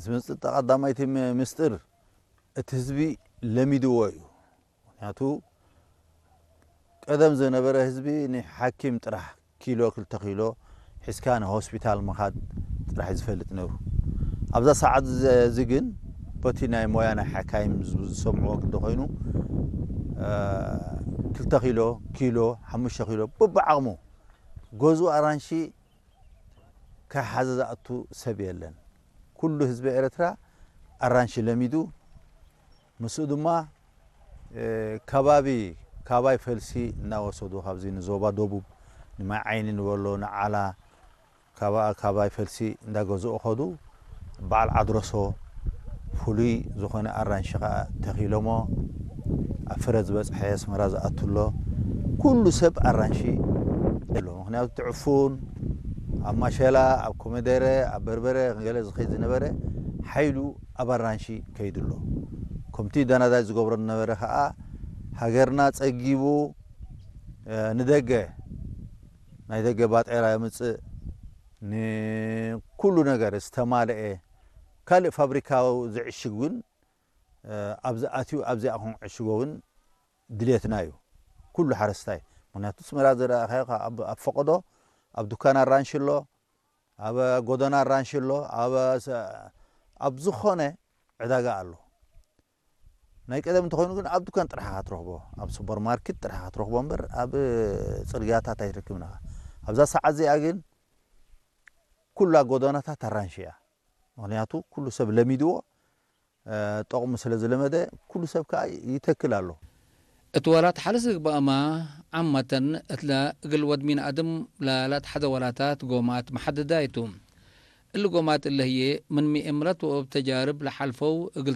ዝመጽእ ቀዳማይቲ ም- ምስጢር እቲ ህዝቢ ለሚድዎ እዩ። ምክንያቱ ቀደም ዝነበረ ህዝቢ ንሓኪም ጥራሕ ኪሎ ክልተ ኪሎ ሒዝካ ንሆስፒታል ምኻድ ጥራሕ እዩ ዝፈልጥ ነይሩ። ኣብዛ ሰዓት እዚ ግን በቲ ናይ ሞያ ናይ ሓካይም ዝሰምዕዎ ግዲ ኮይኑ ክልተ ኪሎ ኪሎ ሓሙሽተ ኪሎ በብዓቕሙ ገዝኡ ኣራንሺ ከይሓዘ ዝኣቱ ሰብ የለን። ኩሉ ህዝቢ ኤርትራ ኣራንሺ ለሚዱ፣ ምስኡ ድማ ከባቢ ካባይ ፈልሲ እናወሰዱ ካብዚ ንዞባ ደቡብ ንማይ ዓይኒ ንበሎ ንዓላ ካባኣ ካባይ ፈልሲ እንዳገዝኡ ኸዱ። በዓል ዓድረሶ ፍሉይ ዝኾነ ኣራንሺ ኸዓ ተኺሎሞ ኣብ ፍረ ዝበፅሐ ኣስመራ ዝኣቱ ኣሎ። ኩሉ ሰብ ኣራንሺ ኣሎ። ምክንያቱ እቲ ዕፉን ኣብ ማሸላ ኣብ ኮመደረ ኣብ በርበረ ገለ ዝኸይድ ዝነበረ ሓይሉ ኣብ ኣራንሺ ከይዱ ኣሎ። ከምቲ ዳናዳይ ዝገብሮ ዝነበረ ኸዓ ሃገርና ፀጊቡ ንደገ ናይ ደገ ባጤራ የምፅእ ንኩሉ ነገር ዝተማልአ ካልእ ፋብሪካ ዝዕሽግ እውን ኣብዚ ኣትዩ ኣብዚኣ ክንዕሽጎ እውን ድልየትና እዩ ኩሉ ሓረስታይ። ምክንያቱ ኣስመራ ዝረኣኻዮ ኣብ ፈቐዶ ኣብ ዱካን ኣራንሺ ኣሎ፣ ኣብ ጎደና ኣራንሺ ኣሎ፣ ኣብ ዝኾነ ዕዳጋ ኣሎ። ናይ ቀደም እንተኾይኑ ግን ኣብ ዱካን ጥራሕ ኢኻ ትረኽቦ፣ ኣብ ሱፐርማርኬት ጥራሕ ኢኻ ትረኽቦ እምበር ኣብ ፅርግያታት ኣይትረክብን ኢኻ። ኣብዛ ሰዓት እዚኣ ግን ኩላ ጎደናታት ኣራንሺ እያ። ምክንያቱ ኩሉ ሰብ ለሚድዎ ጠቕሙ ስለ ዝለመደ ኩሉ ሰብ ከዓ ይተክል ኣሎ። እቲ ወላት ሓለስ ዝግባእማ ዓማተን እትላ እግል ወድ ሚን ኣድም ላላት ሓደ ወላታት ጎማት መሓደዳ ይቱ። እሊ ጎማት እለ ህዬ ምን ሚእምረት ወእብ ተጃርብ ለሓልፈው እግል